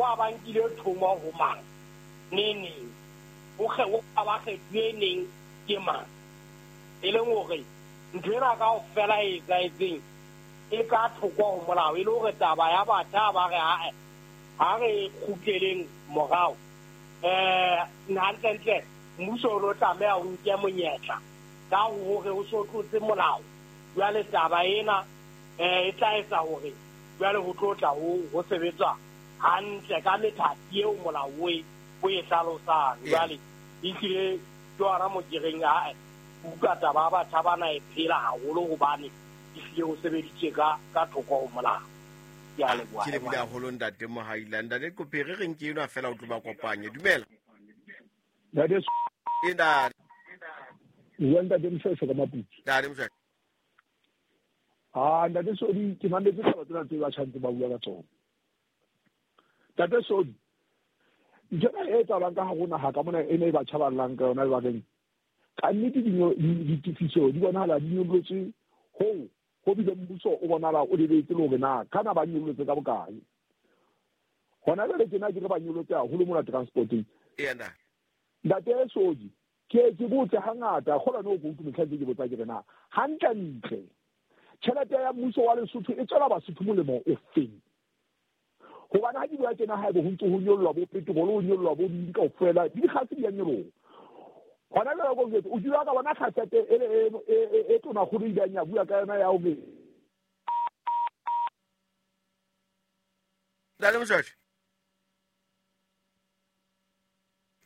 ba ba nkile thomo ho mang neng neng, o ba kgethuwe neng ke mang. E leng hore ntho ena kaofela e etsahetseng e ka thoko ho molao, e le hore taba ya batjha ba re ae ha re kgutleleng morao. Hantlentle mmuso o no tlameha o nke monyetla ka hore o so tlotse molao. Jwale taba ena e tla etsa hore jwale ho tlo tla ho sebetswa hantle ka methati eo molao o e hlalosang. Jwale ehlile ke hona mo ke reng ae utlwa taba ya batjha bana e phela haholo hobane ehlile ho sebeditswe ka thoko ho molao. Ke a leboha. Ke lebohile haholo ntate Mohaila. Ntate Qophe, re reng ke enwa fela o tlo ba kopanye. Dumela. Ntate E ntate. Bua ntate Moshweshwe ka Maputsu. Ntate Moshweshwe. Ah, ntate Sodi, ke mametse taba tsena tse batjha ntse ba bua ka tsona. Ntate Sodi, ntho ena e etsahalang ka hare ho naha ka mona e ne e batjha ba llang ka yona lebakeng. Ka nnete ditefiso di bonahala di nyollotse hoo ho bile mmuso o bonahala o lebetse le hore na kana ba nyollotse ka bokae. Hona jwale tjena ke re ba nyollotse haholo mona transporteng. Ena. Ntate Sodi, ke botse hangata, kgolwa no ke utlwe mehla ntse ke botsa ke re na hantle ntle tjhelete ya mmuso wa Lesotho e tswela Basotho molemo o feng? Hobane ha di bua tjena haebe ho ntse ho nyollwa bo petrol, ho nyollwa bo ding kaofela, di dikgase di a nyoloha. Hona jwale ko jwetse, o kile wa ka bona kgasete e tonakgolo e ileng ya bua ka yona ya hore Ntate Moshweshwe.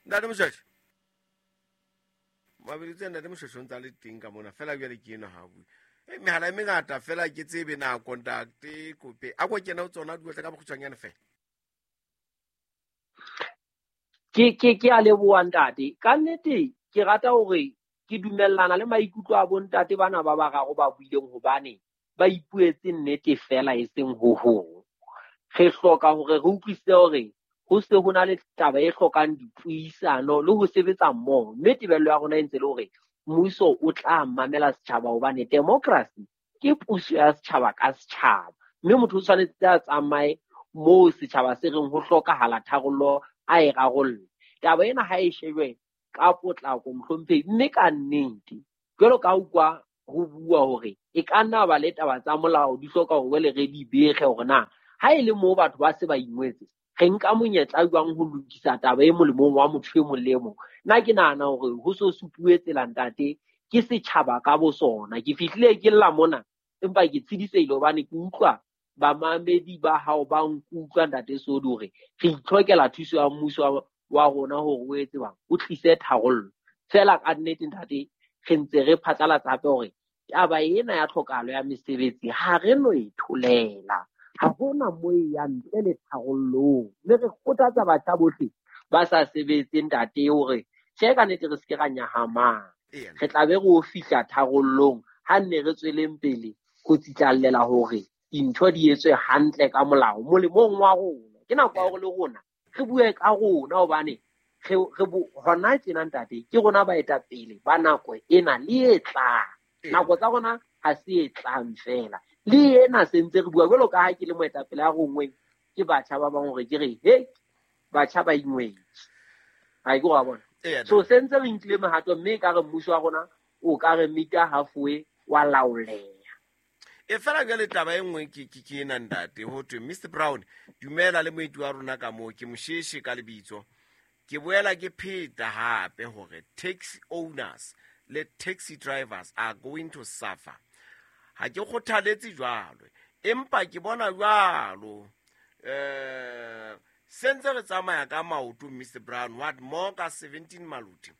Ntate Moshweshwe. Mabeditse ntate Moshweshwe o ntse a le teng ka mona fela jwale ke enwa ha bue. Mehala e mengata fela ke tsebe nako ntate Kope. A ko kena ho tsona di ka bokgutshwanyane fela. Ke a leboha ntate. Ka nnete ke rata hore ke dumellana le maikutlo a bontate bana ba bararo ba buileng hobane ba ipuetse nnete fela e seng ho hong. Re hloka hore re utlwisise hore ho se ho na le taba e hlokang dipuisano le ho sebetsa mmoho. Mme tebello ya rona e ntse le hore mmuso o tla mamela setjhaba hobane democracy ke puso ya setjhaba ka setjhaba. Mme motho o tshwanetse a tsamaye moo setjhaba se reng ho hlokahala tharollo a e rarolle. Taba ena ha e shejwe ka potlako mohlomphehi, mme ka nnete jwalo ka utlwa ho bua hore e ka nna ba le taba tsa molao di hloka hore jwale re di bege hore na ha e le moo batho ba se ba ingwetse re nka monyetla jwang ho lokisa taba e molemong wa motho e mong le e mong. Nna ke nahana hore ho so supuwe tsela ntate ke setjhaba ka bo sona. Ke fihlile ke lla mona empa ke tshedisehile hobane ke utlwa bamamedi ba hao ba nkutlwa ntate Sodi hore re itlhokela thuso ya mmuso wa rona hore o etse bang o tlise tharollo. Fela ka nnete ntate re ntse re phatlalatsa hape hore taba ena ya tlhokahalo ya mesebetsi ha re no e tholela. Ha hona mo e yang ntle le tharollong. Mme re kgothatsa batjha bohle ba sa sebetseng ntate hore tjhe ka nnete re se ke ra nyahamang. Re tla be re o fihla tharollong ha nne re tsweleng pele ho tsitlallela hore dintho di etswe hantle ka molao molemong wa rona. Ke nako ya hore le rona re bue ka rona hobane re hona tjena ntate ke rona baetapele ba nako ena le e tlang. Nako tsa rona ha se e tlang fela. Le ena se ntse re bua jwalo ka ha ke le moetapele a rongweng ke batjha ba bang hore ke re he batjha ba ingwetse. Ha ke wa bona. So se ntse re nkile mehato mme ka re mmuso wa rona o ka re mita halfway wa laoleha. E fela jwale taba e nngwe ke ena ntate ho thwe Mr Brown dumela le moeti wa rona ka moo ke Mosheshe ka lebitso. Ke boela ke pheta hape hore taxi owners le taxi drivers are going to suffer. Ha ke kgothaletse jwalo empa ke bona jwalo sentse re tsamaya ka maoto Mr Brown what more ka 17 Maluti.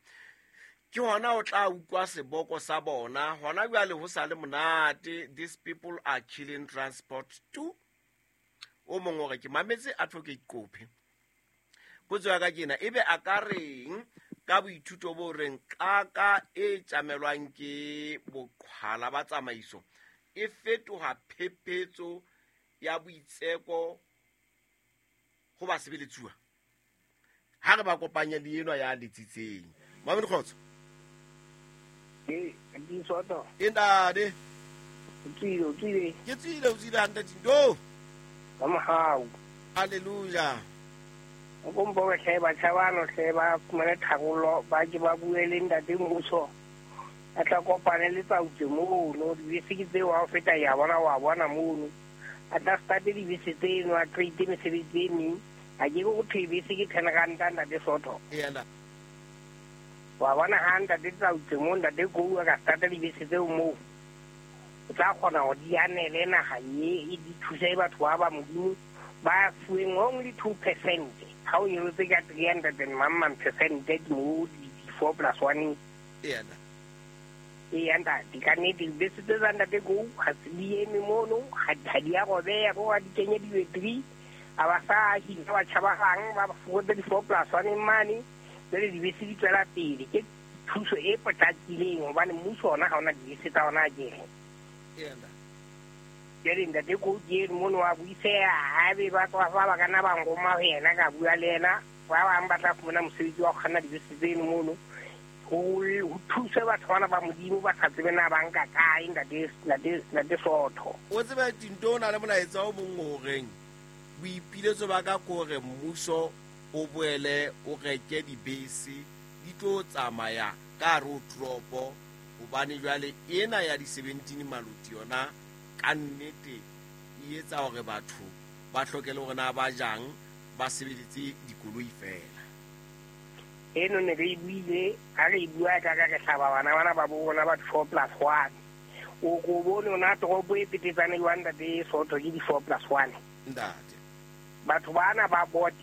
Ke hona o tla utlwa seboko sa bona hona jwale ho sa le monate. These people are killing transport too. O mong o re ke mametse Advocate Qophe. Potso ya ka ke ena, ebe a ka reng ka boithuto bo reng qaka e tjamelwang ke boqhwala ba tsamaiso e fetoha phephetso ya boitseko ho basebeletsuwa? Ha re ba kopanye le enwa ya letsitseng. Mamedi Kgotso. Ke E ntate. O tswile. Ke tswile, o tswile hantle Tindo. Ka mohau. Hallelujah. O mpo hle batjha bano hle ba fumane tharollo, ba ke ba bue le ntate mmuso. A tla kopane le tsautse mono, dibese ke tseo ha o feta ya bona wa bona mono. A tla starte dibese tseno, a create mesebetsi e meng. A ke go thwe bese ke 10 ranta ntate Soto. Wa bona ha ntate tsautse mo ntate go a ka starte dibese tseo moo. O tla kgona go di anele naga e di thuse batho ba ba Modimo ba fuweng only 2%. Ha o nyolotse ka 300 and mamang percent mo di 4 plus 1. Ee ntate, ka nnete dibese tse tsa ntate go ga se di eme mono, ga di a robeya ko ga di kenye di-battery, a ba sa hina batjha ba bang ba fokotse di-4 plus 1 mane, jwale dibese di tswela pele. Ke thuso e potlakileng hobane mmuso ona ha ona dibese tsa ona akere. Jwale ntate go ke eno mono wa buiseha, haebe ba tswa fa ba ka nna ba nroma ho yena ka bua le yena, ba bang ba tla fumana mosebetsi wa ho kganna dibese tseno mono. Ho thuse batho bana ba Modimo ba sa tsebe na ba nka kae ntate Soto. O tsebe Tinto o na le molaetsa o mong o reng boipiletso ba ka kore mmuso o boele o reke dibese di tlo tsamaya ka hare ho toropo, hobane jwale ena ya di-17 maluti yona ka nnete e etsa hore batho ba hloke le hore na ba jang, ba sebeletse dikoloi fela. Eno ne re buile, ha re bua ka ka re hlaba bana bana ba bona ba 4 plus 1. O ko bone ona toropo e petetsane jwang ntate Soto ke di 4 plus 1. Ntate. Batho bana ba bote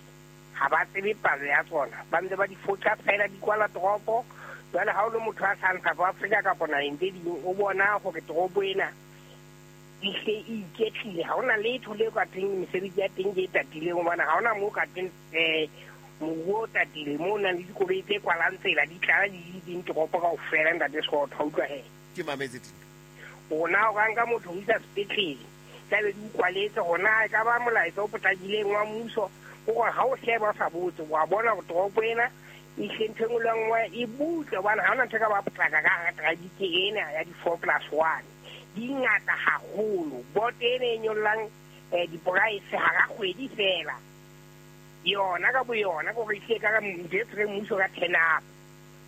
ha ba tsebe palo ya tsona, ba ntse ba di fotsa fela di kwala toropo. Jwale ha o le motho a sa South Africa kapa naheng tse ding, o bona hore toropo ena e hle e iketlile, ha hona letho le ka teng mesebetsi ya teng ke e tatileng, hobane ha hona moo ka teng moruo o tatile moo o nang le dikoloi tse kwalang tsela di tlala di ding toropo kaofela ntate Soto, ha utlwa he. Ke mametse Tinto. Rona o ka nka motho ho isa sepetlele, tlabe di ukwaletse hona e ka ba molaetsa o potlakileng wa mmuso, hore ha o sheba o sa botse, wa bona hore toropo ena e hle ntho e nngwe le nngwe e butle, hobane ha hona ntho e ka ba potlaka ka hara traffic ena ya di 4 plus 1. Di ngata haholo. Boto ena e nyollang diporaese hara kgwedi fela. Yona ka boyona kore e hlile ka ntho e tshwereng mmuso ka turn up.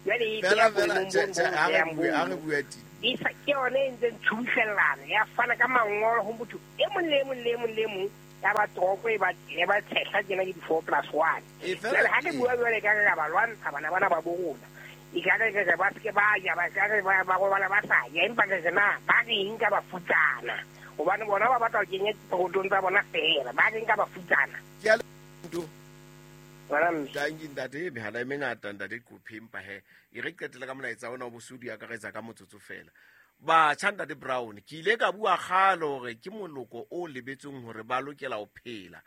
Jwale e Fela beha fela boemong tjhe bo tjhe bo ha re behang bue ha bono. re bue Tinto. E sa ke yona e ntseng tshubuhlellana ya fana ka mangolo ho motho e mong le e mong le e mong le e mong ya ba toropo e ba tshehla tjena ke di 4 plus 1. E fela Jwale ha re bua jwale ka re ba lwantsha bana bana ba bo rona. E ka re re ba se ba ja, ba ka re ba robala ba sa ja, empa re na ba reng ka bafutsana, hobane bona ba batla ho kenya dipokotong tsa bona fela, ba reng ka bafutsana. Ke a Tinto. Ngwana mme. Tanki ntate, mehala e mengata ntate Qophe, empa he e re qetela ka molaetsa ona o bosodi akaretsa ka motsotso fela. Batjha ntate Brown, ke ile ka bua kgale hore ke moloko o lebetseng hore ba lokela ho phela.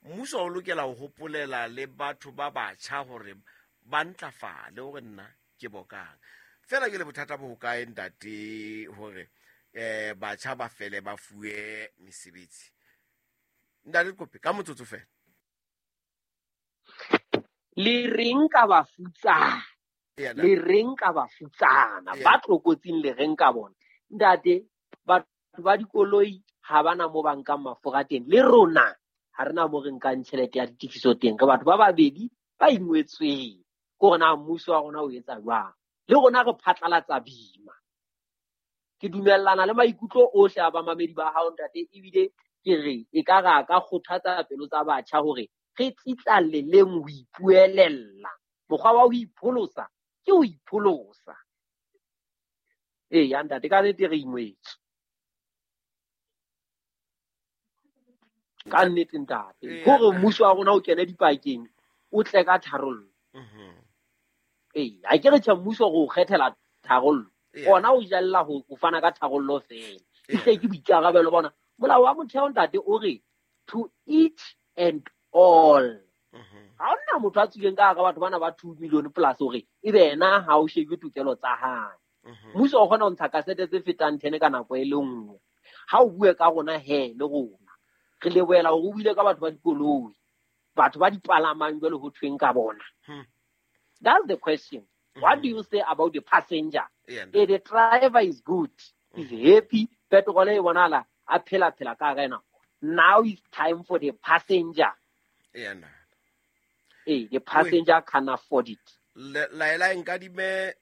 Mmuso o lokela ho hopolela le batho ba batjha hore ba ntlafale hore nna ke bokang. Fela ke le bothata bo hokae ntate hore batjha ba fele ba fuwe mesebetsi. Ntate Qophe ka motsotso fela. Le reng ka bafutsana? Le reng ka bafutsana? Ba tlokotsing le reng ka bona? Ntate, batho ba dikoloi ha bana mo ba nkang mafura teng. Le rona ha rena mo re nkang tjhelete ya ditefiso teng. Re batho ba babedi ba ingwetsweng. Ke hore na mmuso wa rona o etsa jwang. Le rona re phatlalatsa bima. Ke dumellana le maikutlo ohle a bamamedi ba hao ntate, ebile ke re e ka ra ka kgothatsa pelo tsa batjha hore re tsitlalleleng ho ipuelella. Mokgwa wa ho ipholosa ke ho ipholosa. Eya ntate, ka nnete re ingwetswe. Ka nnete ntate, hore mmuso wa rona o kene dipakeng, o tle ka tharollo. Ee, ha ke re tjhe mmuso re o kgethela tharollo. Ona o jalla ho fana ka tharollo fela. E ke boikarabelo bona. Molao wa motheo ntate o re to each and all. Ha hona motho a tswileng ka hara batho bana ba 2 million plus hore ebe yena ha o shebe tokelo tsa hae. Mmuso o kgona ho ntsha kasete tse fetang 10 ka nako e le nngwe. Ha o bue ka rona he le rona. Re lebohela hore o buile ka batho ba dikoloi, batho ba dipalamang jwale ho thweng ka bona. That's the question. What do you say about the passenger? The driver is good, is happy, petrol e bonala a phela phela ka hara ena. Now it's time for the passenger. Ee, the passenger can afford it. Laela nkadime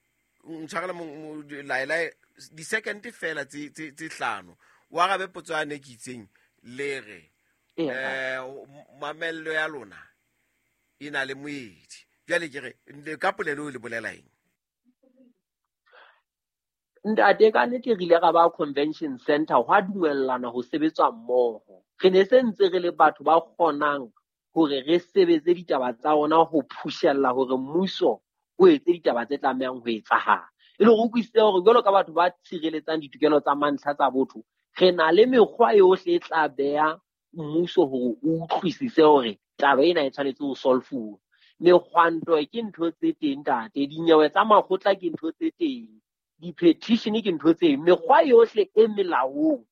ntshwarele laela di-second fela tse hlano o arabe potso yane ke itseng le re mamello ya lona e na le moedi. Jwale ke re ka polelo o le bolela eng? Ntate, ka nnete re ile ra ba convention center hwa dumellana ho sebetswa mmoho. Re ne se ntse re le batho ba kgonang hore re sebetse ditaba tsa rona ho phushella hore mmuso o etse ditaba tse tlamehang ho etsahala. E le hore o utlwisise hore jwalo ka batho ba tshireletsang ditokelo tsa mantlha tsa botho, re na le mekgwa yohle e tla beha mmuso hore o utlwisise hore taba ena e tshwanetse ho solfuwa. Mekgwanto ke ntho tse teng ntate, dinyewe tsa makgotla ke ntho tse teng, di-petition ke ntho tse, mekgwa yohle e melaong,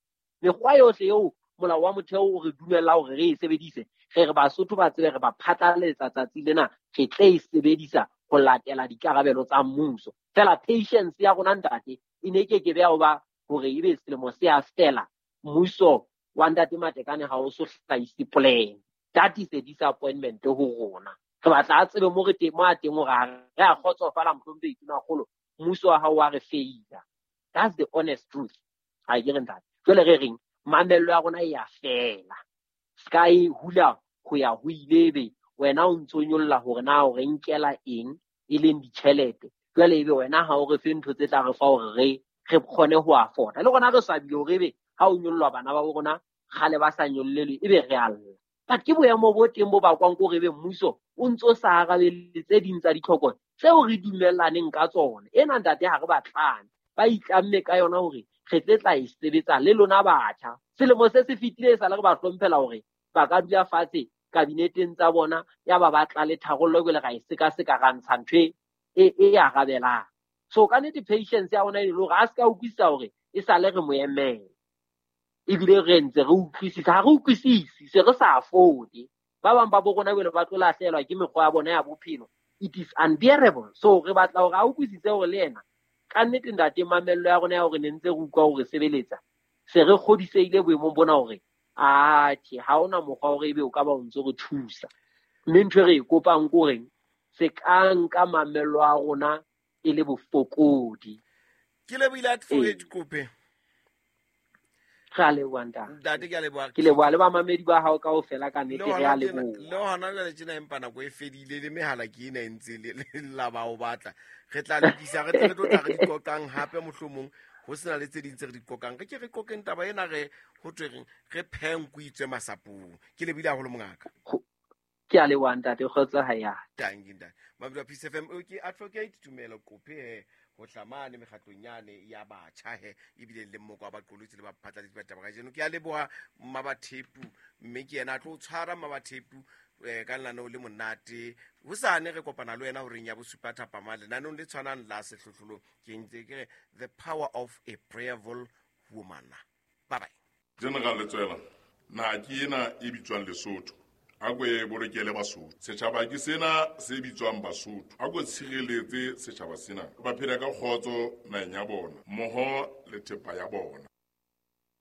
mekgwa yohle eo molao wa motheo o re dumella hore re e sebedise, re re Basotho ba tsebe re ba phatlalatsa tsatsi lena, re tle e sebedisa ho latela dikarabelo tsa mmuso. Fela patience ya rona ntate e ne ke ke beha ho ba hore ebe selemo se a fela mmuso wa ntate Matekane ha o so hlahise plan. That is a disappointment ho rona. Re batla a tsebe mo re teng, mo a teng hore ha re a kgotsofala mohlomphehi Tonakgolo, mmuso wa hao wa re feila. That's the honest truth. Ha ke re ntate. Jwale re reng mamello ya rona e a fela. Ska e hula ho ya ho ile ebe wena o ntso nyolla hore na o re nkela eng e leng ditjhelete. Jwale ebe wena ha o re fe ntho tse tla re fa hore re kgone ho afforda. Le rona re swabile hore ebe ha o nyollwa bana ba bo rona kgale ba sa nyollelwe ebe re a lla. But ke boemo bo teng bo bakwang ke hore ebe mmuso o ntso sa arabele tse ding tsa ditlhoko tseo re dumellaneng ka tsona. Ena ntate ha re batlane, ba itlamme ka yona hore re tle tla e sebetsa le lona batjha. Selemo se se fetile e sale re ba hlomphela hore ba ka dula fatshe kabineteng tsa bona ya ba batla le tharollo jwale ra e sekaseka ra ntsha ntho e arabelang. So ka nnete patience ya rona e le hore a se ka utlwisisa hore e sale re mo emela. Ebile re ntse re utlwisisa, ha re utlwisisi se re sa afford. Ba bang ba bo rona jwale ba tlo lahlehelwa ke mekgwa ya bona ya bophelo. It is unbearable. So re batla hore a utlwisise hore le yena ka nnete ntate mamello ya rona ya hore ne ntse re utlwa hore sebeletsa se re kgodisehile boemong bona hore atjhe ha hona mokgwa hore ebe o ka ba o ntso re thusa. Mme ntho e re e kopang ke horeng se ka nka mamello a rona e le bofokodi. Ke lebohile Advocate Kgope. Re a leboha ntate. Ntate ke a leboha. Ke leboha le bamamedi ba hao kaofela ka nnete, re a leboha. Le hona jwale tjena empa nako e fedile le mehala ke ena e ntse le la ba o batla. Re tla lokisa, re tle re tlo tla re di qoqang hape mohlomong ho sena le tse ding tse re di qoqang. Re ke re qoqeng taba ena re ho thwe reng re phenku itswe masapong. Ke lebohile haholo mongaka. Ke a leboha ntate, kgotso ha ya. Tanki ntate. Mamedi wa Peace FM, ke Advocate Tumelo Kgope he ho hlamane mekgatlong yane ya batjha he ebile le mmoko wa baqolotsi le baphatlalatsi ba taba kajeno. Ke a leboha Mmabathepu mme ke yena a tlo tshwara Mmabathepu ka lenaneo le monate. Hosane re kopana le wena horeng ya bosupa thapama lenaneong le tshwanang la sehlohlolong. Ke ntse ke re The Power of a Prayerful Woman. Bye bye. General Letsoela, naha ke ena e bitswang Lesotho. A ko e bolokele Basotho. Setjhaba ke sena se bitswang Basotho. A ko tshireletse setjhaba sena. Ba phela ka kgotso naheng ya bona, mmoho le thepa ya bona.